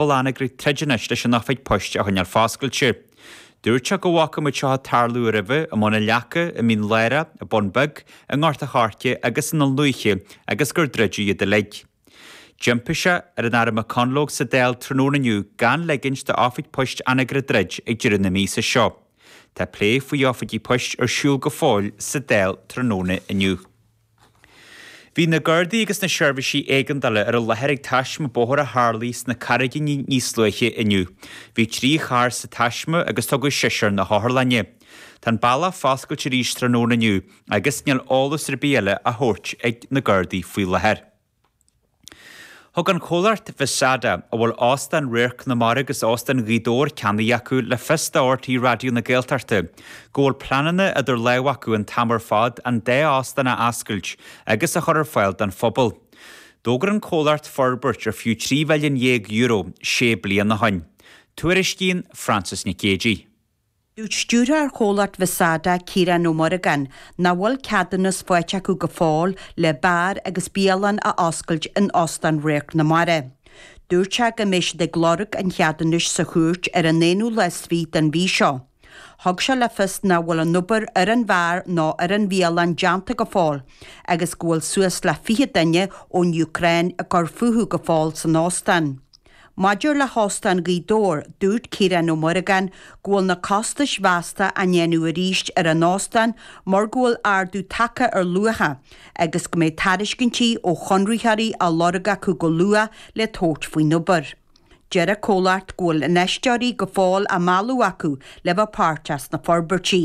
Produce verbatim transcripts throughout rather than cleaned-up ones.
bhfuil Anagaire ag troid anois leis an oifig poist a choinneáil foscailte. Dúirt sé go bhfaca muid seo ag tarlú roimhe i mBun an Leaca, i Mín Lárach, i Bun Beag, i nGort a' Choirce agus in Dún Lúiche agus gur druideadh iad uilig. D'impigh sé ar an Aire McConalogue sa Dáil tráthnóna inniu gan ligint d'oifig poist Anagaire druid ag deireadh na míosa seo. Tá plé faoi oifigí poist ar siúl go fóill sa Dáil tráthnóna inniu. Bhí na Gardaí agus na seirbhísí éigeandála ar an láthair ag taisme bóthair a tharlaigh sna Carraigíní níos luaithe inniu. Bhí trí charr sa taisme agus tugadh seisear na hotharlainne. Tá an bealach foscailte arís tráthnóna inniu agus níl eolas ar bith eile á thabhairt ag na Gardaí faoi láthair. Thug an comhlacht Visada, a bhfuil Óstán Radharc na Mara agus Óstán Ghaoth Dobhair ceannaithe acu le fios do RTÉ Raidió na Gaeltachta go bhfuil pleananna idir lámha acu an t-am ar fad an dá óstán a oscailt agus a chur ar fáil don phobal. D'fhógair an comhlacht forbairt ar fiú trí mhilliún dhéag euro sé bliana ó shin. Tuairiscíonn Frances Nic Géadaigh. Dúirt stiúrthóir chomhlacht Visada Ciarán Ó Muircheartaigh nach bhfuil ceadúnas faighte acu go fóill le beár agus bialann a oscailt in Óstán Radharc na Mara. Dúirt sé go mbeidh siad ag lorg an cheadúnais sa chúirt ar an aonú lá is fiche den mhí seo. Thug sé le fios nach bhfuil an obair ar an bheár nó ar an bhialann déanta go fóill, agus go bhfuil suas le fiche duine ón Úcráin ag cur fúthu go fóill san óstán. Maidir le hÓstán Ghaoth Dobhair, dúirt Ciarán Ó Muircheartaigh go bhfuil na costais mheasta á ndéanamh arís ar an óstán mar go bhfuil ardú tagtha ar luacha agus go mbeidh tairiscintí ó chonraitheoirí á lorg acu go luath le tabhairt faoin obair. Deir an comhlacht go bhfuil infheisteoirí go fóill á mealladh acu le bheith páirteach sna forbairtí.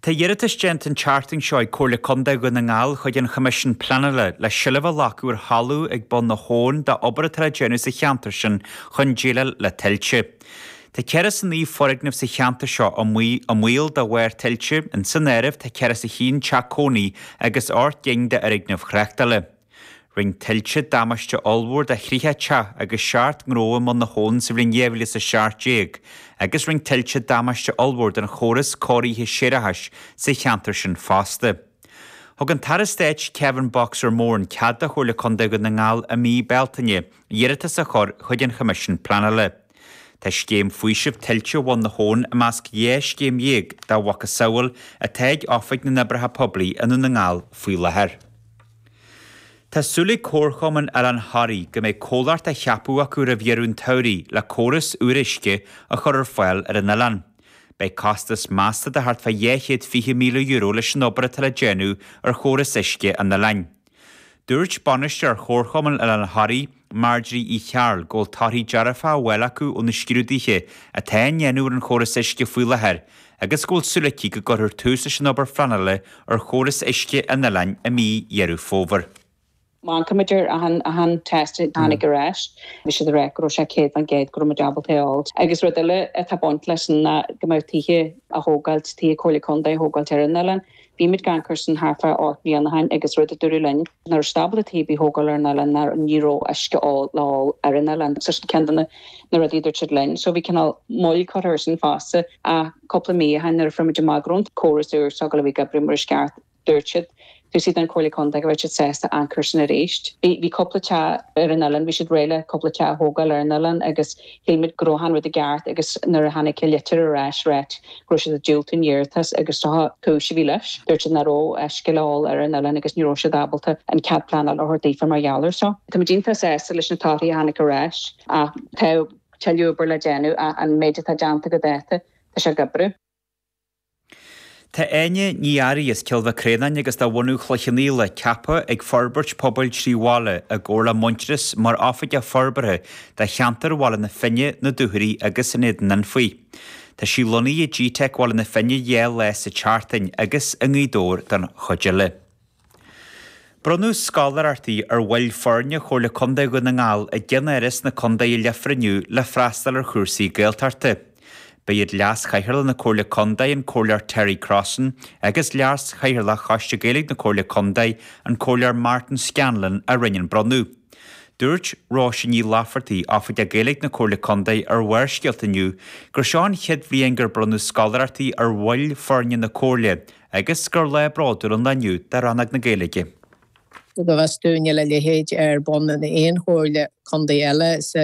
Tá iarratas déanta an tseachtain seo ag Comhairle Contae Dhún na nGall chuig an Choimisiún Pleanála le seilbh a ghlacadh ar thalamh ag bun na habhann d'obair atá le déanamh sa cheantar sin chun déileáil le tuilte. Tá ceithre is a naoi foirgneamh sa cheantar seo i mbaol de bharr tuilte, in san áireamh tá ceithre is a haon teach cónaí agus ocht gcinn d'fhoirgnimh thráchtála. Rinne tuilte damáiste ollmhór do thríocha teach agus seacht ngnó i mbun na habhann sa bhliain dhá mhíle is a seacht déag, agus rinne tuilte damáiste ollmhór don chóras cóirithe séarachais sa cheantar sin fosta. Thug an tAire Stáit Kevin Boxer Moran cead do Chomhairle Contae Dhún na nGall i mí Bealtaine iarratas a chur chuig an Choimisiún Pleanála. Tá scéim faoisimh tuilte Bhun na hAbhann i measc dhá scéim dhéag dá mhacasamhail atá ag Oifig na nOibreacha Poiblí i nDún na nGall faoi láthair. Tá súil ag Comharchumann Oileán Thoraí go mbeidh comhlacht á cheapadh acu roimh dheireadh an tsamhraidh le córas úr uisce a chur ar fáil ar an oileán. Beidh costas measta de thart fá dhá chéad fiche míle euro leis an obair atá le déanamh ar chóras uisce an oileáin. Dúirt bainisteoir Chomharchumann Oileán Thoraí, Marjorie Uí Chearúil, go bhfuil torthaí dearfa á bhfáil acu ó na scrúduithe atá á ndéanamh ar an chóras uisce faoi láthair agus go bhfuil súil aici go gcuirfear tús leis an obair phleanála ar chóras uisce an oileáin i mí Dheireadh Fómhair. Má amharcaimid ar achan achan test a tháinig ar ais, bhí siad ag rá go raibh sé céad faoin gcéad go raibh muid ábalta é a fháil. Agus rud eile atá baint leis sin ná go mbeadh tithe á thógáilt, tithe Comhairle Contae á thógáilt ar an oileán. Bhí muid ag amharc air sin thart fá ocht mbliana ó shin agus rud a dúradh linn nach raibh siad ábalta tithe ar bith a thógáil ar an oileán ná ní raibh uisce le ól ar an oileán. So sin ceann de na na rudaí a dúirt siad linn. So bhí cineál moill curtha air sin fosta. Ach cúpla mí ó shin nuair a fuair muid amach go raibh an córas úr s'againn a bhí ag oibriú mar is ceart, dúirt siad, dúirt siad an Comhairle Contae go raibh siad sásta amharc air sin arís. Bhí bhí cúpla teach ar an oileán, bhí siad réidh le cúpla teach a thógáil ar an oileán agus shíl muid go raibh an rud i gceart agus nuair a tháinig an litir ar ais ráit go raibh siad ag diúltú an iarratas agus seo cúis a bhí leis. Dúirt siad nach raibh uisce le ól ar an oileán agus ní raibh siad ábalta an cead pleanála a thabhairt daofa mar gheall air seo. Tá muid iontach sásta leis na torthaí a tháinig ar ais ach tá tuilleadh obair le déanamh ach an méid atá déanta go dáta tá sé ag oibriú. Tá Áine Ní Fhearraigh as Cill Mhic Réanáin agus de bhunadh Chloich Cheann Fhaola ceaptha ag Forbairt Pobail Trí Bhaile i gcomhar le Muintearas mar Oifigeach Forbartha do cheantar Bhaile na Finne, na Dúchoraidhe agus an Éadain Anfaigh. Tá sí lonnaithe i G-Teic Bhaile na Finne dhá lá sa tseachtain agus i nGaoth Dobhair don chuid eile. Bronnadh scoláireachtaí ar bhaill foirne Chomhairle Contae Dhún na nGall i gceannáras na contae i Leifear inniu le freastal ar chúrsaí Gaeltachta. Ba iad Leas-Chathaoirleach na Comhairle Contae, an Comhairleoir Terry Crossan, agus Leas-Chathaoirleach Choiste Gaeilge na Comhairle Contae, an Comhairleoir Martin Scanlon, a rinne an bronnadh. Dúirt Róise Ní Laifeartaigh, Oifigeach Gaeilge na Comhairle Contae ar Bharrscéalta inniu gur seo an chéad bhliain gur bronnadh scoláireachtaí ar bhaill foirne na Comhairle agus gur lá bródúil an lá inniu do Rannóg na Gaeilge. Go bhfios dúinn níl a leithéid ar bun in aon chomhairle contae eile sa